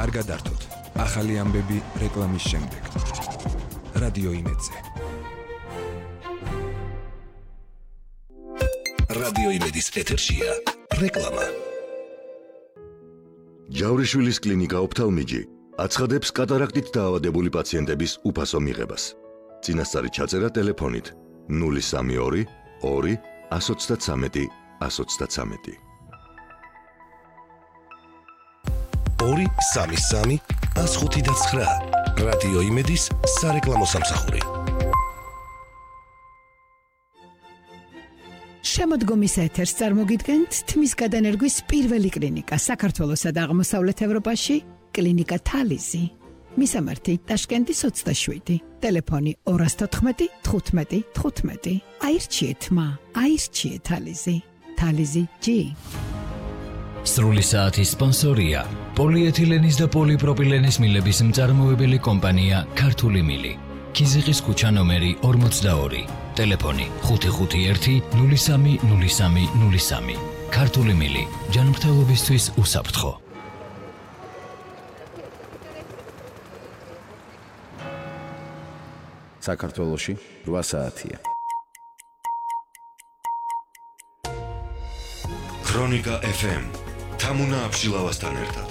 არ გადართოთ. ახალი ამბები რეკლამის შემდეგ. რადიო იმედზე. რადიო იმედის ეთერშია რეკლამა. ჯავრიშვილის კლინიკა ოფთალმიჯი აცხადებს კატარაქტით დაავადებული პაციენტების უფასო მიღებას. წინასწარი ჩაწერა ტელეფონით 032 2 133 133. 233 159 რადიო იმედის სარეკლამო სამსახური. შემოდგომის ეთერს წარმოგიდგენთ თმის გადანერგვის პირველი კლინიკა საქართველოსა და აღმოსავლეთ ევროპაში, კლინიკა თალიზი. მისამართი ტაშკენტის 27, ტელეფონი 214 15 15. აირჩიეთ აირჩიეთ თალიზი. თალიზი G. სრული საათის სპონსორია პოლიეთილენის და პოლიპროპილენის მილების მწარმოებელი კომპანია ქართული მილი. ქიზიყის ქუჩა ნომერი 42, ტელეფონი 551 03 03 03. ქართული მილი, ჯანმრთელობისთვის უსაფრთხო. საქართველოში 8 საათია. ქრონიკა FM თამუნა აბშილავასთან ერთად.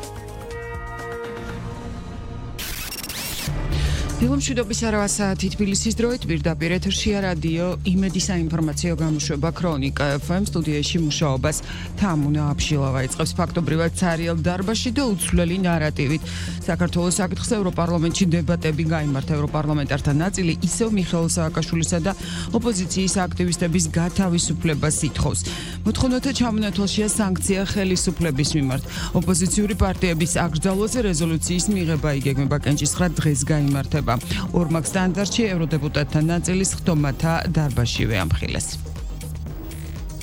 ფილმშვიდობის არა საათი თბილისის დროით პირდაპირ ეთერშია რადიო იმედის საინფორმაციო გამოშვება ქრონიკა FM სტუდიაში მუშაობას თამუნა აბშილავა იწყებს ფაქტობრივად ცარიელ დარბაზში და უცვლელი ნარატივით. საქართველოს საკითხზე ევროპარლამენტში დებატები გაიმართა. ევროპარლამენტართა ნაწილი ისევ მიხეილ სააკაშვილისა და ოპოზიციის აქტივისტების გათავისუფლებას ითხოვს. მოთხოვნათა ჩამონათვალშია სანქცია ხელისუფლების მიმართ. ოპოზიციური პარტიების აკრძალვაზე რეზოლუციის მიღება იგეგმება კენჭისხრა დღეს გაიმართება. ორმაგ სტანდარტში ევროდეპუტატთა ნაწილის ხდომათა დარბაზშივე ამხილეს.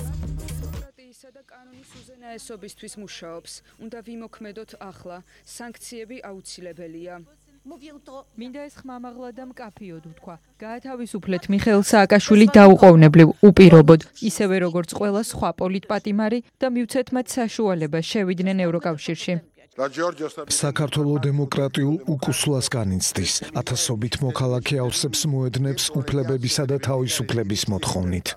დემოკრატიისა და კანონის უზენაესობისთვის მუშაობს. უნდა ვიმოქმედოთ ახლა. სანქციები აუცილებელია. მინდა ეს ხმამაღლა და მკაფიოდ ვთქვა. გაათავისუფლეთ მიხეილ სააკაშვილი დაუყოვნებლივ, უპირობოდ, ისევე როგორც ყველა სხვა პოლიტპატიმარი და მივცეთ მათ საშუალება შევიდნენ ევროკავშირში. საქართველოს დემოკრატიულ უკუსლას განიცდის. ათასობით მოქალაქე ავსებს მოედნებს უფლებებისა და თავისუფლების მოთხოვნით.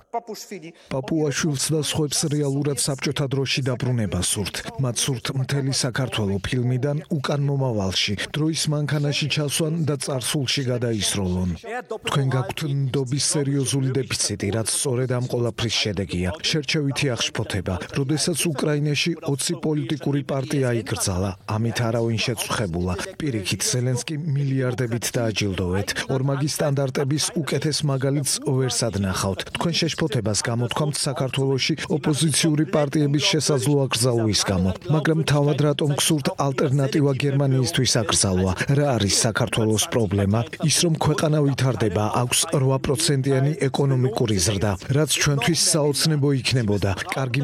პაპუაშვილს და სხვებს რეალურად საბჭოთა დროში დაბრუნება სურთ. მათ სურთ მთელი საქართველოს ფილმიდან უკან მომავალში, დროის მანქანაში ჩასვან და წარსულში გადაისროლონ. თქვენ გაქვთ ნდობის სერიოზული დეფიციტი, რაც სწორედ ამ ყველაფრის შედეგია. შერჩევითი აღშფოთება, როდესაც უკრაინაში 20 პოლიტიკური პარტია იკრძალა. ამით არავინ შეწუხებულა. პირიქით ზელენსკი მილიარდებით დააჯილდოვეთ. ორმაგი სტანდარტების უკეთეს მაგალითს ვერ სადნახავთ. თქვენ შეშფოთებას გამოთქვამთ საქართველოში ოპოზიციური პარტიების შესაძლო აკრძალვის გამო. მაგრამ თავად რატომ გსურთ ალტერნატივა გერმანიისთვის აკრძალვა? რა არის საქართველოს პრობლემა? ის რომ ქვეყანა ვითარდება, აქვს 8%-იანი ეკონომიკური ზრდა, რაც ჩვენთვის საოცნებო იქნებოდა. კარგი